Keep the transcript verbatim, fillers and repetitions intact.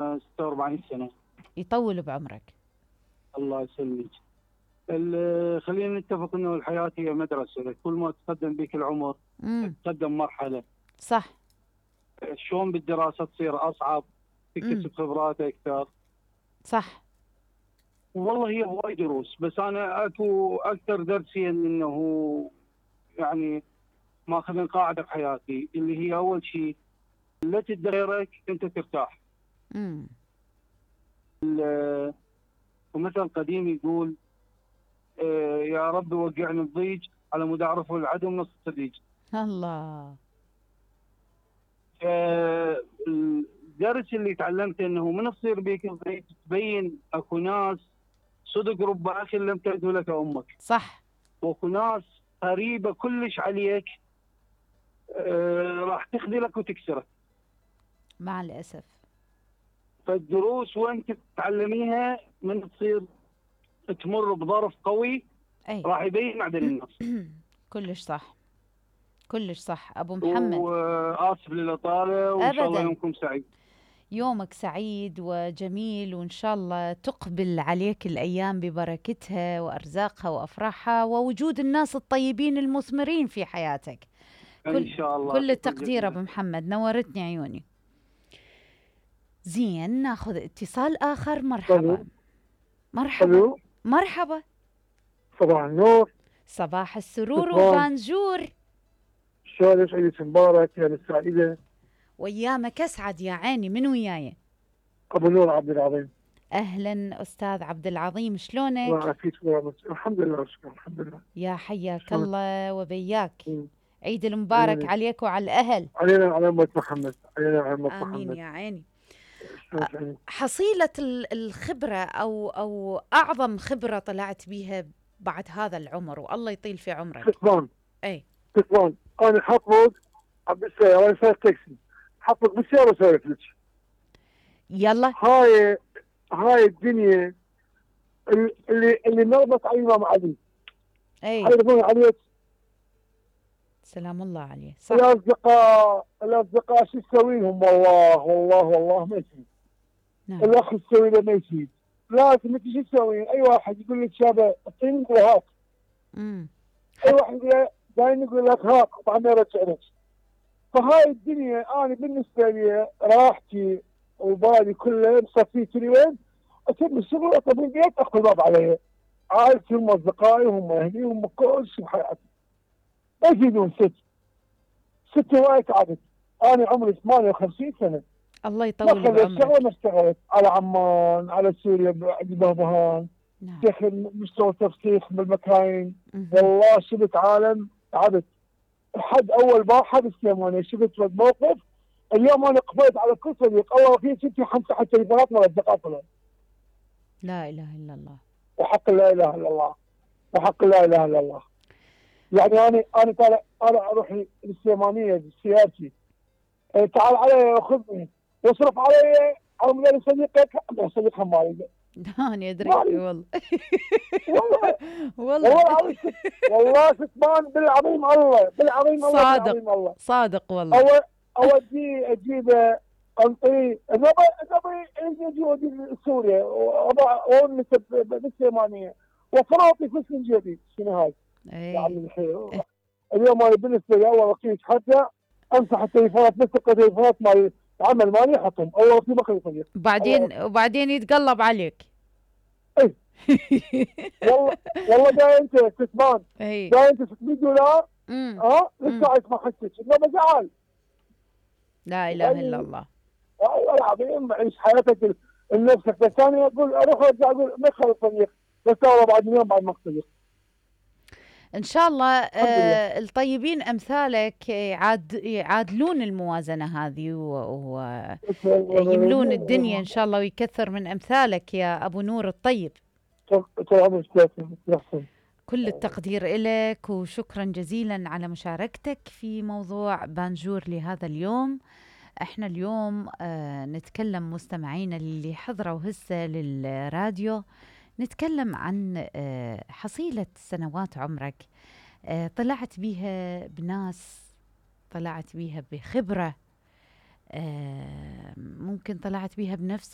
ستة وأربعين سنة. يطول بعمرك. الله يسلمك. ال- خلينا نتفق انه الحياه هي مدرسه، كل ما تقدم بك العمر امم تقدم مرحله. صح. شلون بالدراسه تصير اصعب، امم تكتسب خبرات اكثر. صح. والله هي هواي دروس، بس انا اكو اكثر درس هي انه يعني ماخذ قاعده بحياتي اللي هي اول شيء لا تدي غيرك انت ترتاح. امم ال- ومثل قديم يقول آه، يا رب وقعني الضيج على مود اعرفه العدو من الصديق. الله. آه، الدرس اللي تعلمته انه من تصير بيك الضيج تبين اكو ناس صدق رب اخ لم تلد لك امك. صح. واكو ناس قريبه كلش عليك آه، راح تخذلك وتكسرك. مع الأسف. فالدروس وانت تتعلميها من تصير تمر بظرف قوي أي. راح يبين معدن الناس. كلش صح. كلش صح أبو محمد. وآسف للإطالة، وإن شاء الله أبدا. يومكم سعيد. يومك سعيد وجميل، وإن شاء الله تقبل عليك الأيام ببركتها وأرزاقها وأفراحها ووجود الناس الطيبين المثمرين في حياتك. إن كل شاء الله. كل شكراً التقدير أبو جزيلاً. محمد، نورتني عيوني. زين، ناخذ اتصال آخر. مرحبا. الو. مرحبا. الو. مرحبا. صباح النور. صباح السرور شكرا. وبانجور. شلونك؟ عيد مبارك يا السعيدة. ويامك أسعد يا عيني. من وياي؟ ابو نور عبد العظيم. أهلا أستاذ عبد العظيم، الله شلونك؟ يعافيك ورحمة. الحمد لله شكرا. الحمد لله. يا حياك شلونك؟ الله وبياك. مم. عيد المبارك علينا عليك وعلى الأهل. علينا وعلى أمة محمد. علينا وعلى أمة آمين محمد. يا عيني. شلونك عيني؟ حصيلة ال- الخبرة أو أو أعظم خبرة طلعت بيها بعد هذا العمر، والله يطيل في عمرك. كسبان أي. كسبان. أنا حطلق بالسيارة، أنا سايق تاكسي، حطلق بالسيارة وسولف لك. يلا. هاي هاي الدنيا اللي اللي اللي نربط على الإمام علي. أي. هاي يربون عليه. سلام الله عليه. صح. الأصدقاء الأصدقاء شو تسوي لهم؟ والله والله والله ما يفيد. نعم. الأخ تسوي له ما يفيد. لازم أنت شو تسوي؟ أي واحد يقول لك شابه اعطيني يقول هات. امم أي واحد يقول له دايم يقول لك هات طبعا يرجع لك. فهاي الدنيا أنا بالنسبة لي راحتي وبالي كله مصفيتني وين؟ أتم الشغل أطلب البيت أخذ الباب علي. عائلتي هم أصدقائي هم أهلي هم كل شيء بحياتي. ما يفيدون ست. ست هواي تعبت. أنا عمري ثمانية وخمسين سنة. الله ما يطول خليت بعمرك. شغله ما اشتغلت على عمان على سوريا عند بهبهان. نعم. دخل مستوى تفسيخ بالمكاين. مهم. والله شفت عالم تعبت. حد اول واحد السليماني شفت موقف. اليوم انا قبلت على كل صديق الله في ستي خمسه حتى تليفونات مال اصدقاء. لا إله إلا الله. وحق لا اله الا الله. وحق لا اله الا الله. يعني انا انا طالع انا اروح السليمانيه بسيارتي. اه تعال علي خذني واصرف علي على مدير صديقك صديق مالي. أنا أدري مالي. والله. والله والله. والله العظيم والله كتمان بالعظيم الله بالعظيم الله صادق. بالعظيم الله. صادق والله. أو اودي اجيب انطي نبي نبي اجي اودي سوريا واونس بالسليمانيه وفراطي في السنجبي. شنو هاي؟ يا عمي أي. الخير. اليوم انا بالنسبه لي اول وقت حتى امسح التليفونات بس التليفونات مال العمل مالي احطهم اول وقت ما خلي صديق. بعدين وبعدين يتقلب عليك. اي والله والله جاي انت كسبان. اي. جاي انت ستمية دولار. امم ها مم. لسه اسمع حسك انه زعل. لا إله إلا الله. والله العظيم عيش حياتك لنفسك. بس انا اقول اروح ارجع اقول ما خلص صديق بس والله بعد يوم بعد ما صديق. إن شاء الله الحمد لله. آه الطيبين أمثالك يعاد يعادلون الموازنة هذه ويملون الدنيا إن شاء الله، ويكثر من أمثالك يا أبو نور الطيب. طول عمرك يحسن. كل التقدير إلك وشكرا جزيلا على مشاركتك في موضوع بانجور لهذا اليوم. احنا اليوم آه نتكلم مستمعينا اللي حضروا هسه للراديو، نتكلم عن آه حصيلة سنوات عمرك آه طلعت بيها بناس، طلعت بيها بخبرة، آه ممكن طلعت بيها بنفسك.